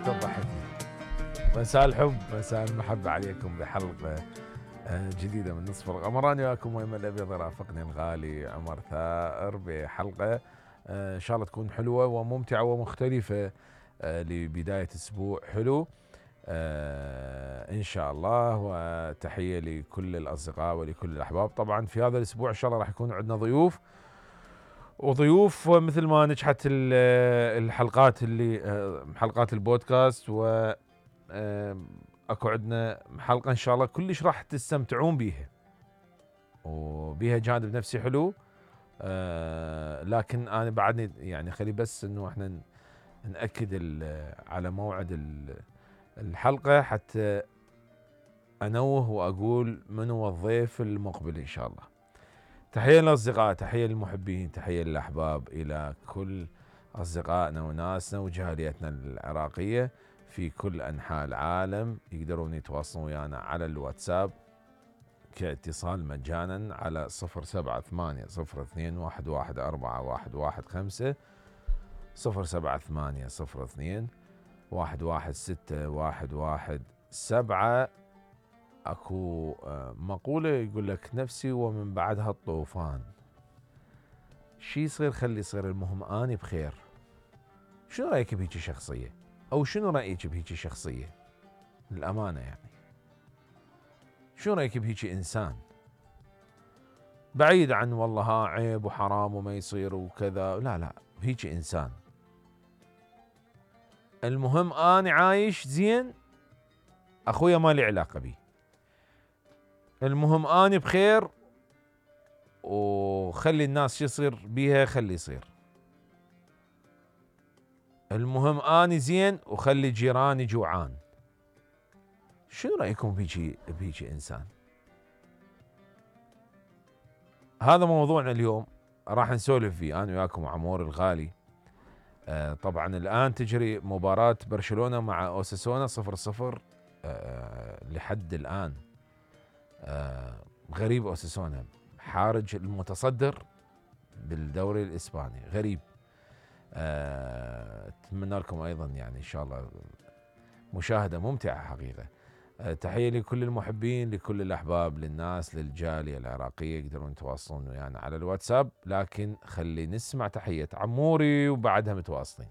تضحكني. مساء الحب، مساء المحبة عليكم بحلقة جديدة من نصف القمر. أنا وياكم ويم الأبيض، رافقني الغالي عمر ثائر بحلقة إن شاء الله تكون حلوة وممتعة ومختلفة لبداية أسبوع حلو إن شاء الله. وتحية لكل الأصدقاء ولكل الأحباب. طبعا في هذا الأسبوع إن شاء الله راح يكون عندنا وضيوف مثل ما نجحت الحلقات اللي حلقات البودكاست، و اكو عندنا حلقة ان شاء الله كلش راح تستمتعون بيها وبيها جانب نفسي حلو. لكن انا بعدني يعني خلي بس انه احنا نأكد على موعد الحلقة حتى انوه واقول من هو الضيف المقبل ان شاء الله. تحية للأصدقاء، تحية للمحبين، تحية للأحباب، إلى كل أصدقائنا وناسنا وجاليتنا العراقية في كل أنحاء العالم. يقدرون يتواصلون ويانا على الواتساب كاتصال مجانا على 078-02-11415 078-02-116-117. اكو مقولة يقول لك نفسي ومن بعدها الطوفان. شي يصير خلي يصير، المهم اني بخير. شنو رايك بهيجي شخصية؟ او شنو رايك بهيجي شخصية؟ للامانة يعني شنو رايك بهيجي انسان؟ بعيد عن والله ها عيب وحرام وما يصير وكذا، لا بهيجي انسان. المهم اني عايش زين، اخويا ما لي علاقة بي. المهم اني بخير وخلي الناس يصير بيها خلي يصير. المهم اني زين وخلي جيراني جوعان. شنو رايكم بيجي انسان؟ هذا موضوعنا اليوم، راح نسولف فيه انا وياكم عمور الغالي. طبعا الان تجري مباراة برشلونة مع اوساسونا 0-0 لحد الان. غريب اوساسونا حارج المتصدر بالدوري الاسباني، غريب. اتمنى لكم ايضا يعني ان شاء الله مشاهدة ممتعة حقيقة. تحية لكل المحبين، لكل الاحباب، للناس، للجالية العراقية يقدرون يتواصلون ويانا على الواتساب. لكن خلي نسمع تحية عموري وبعدها متواصلين.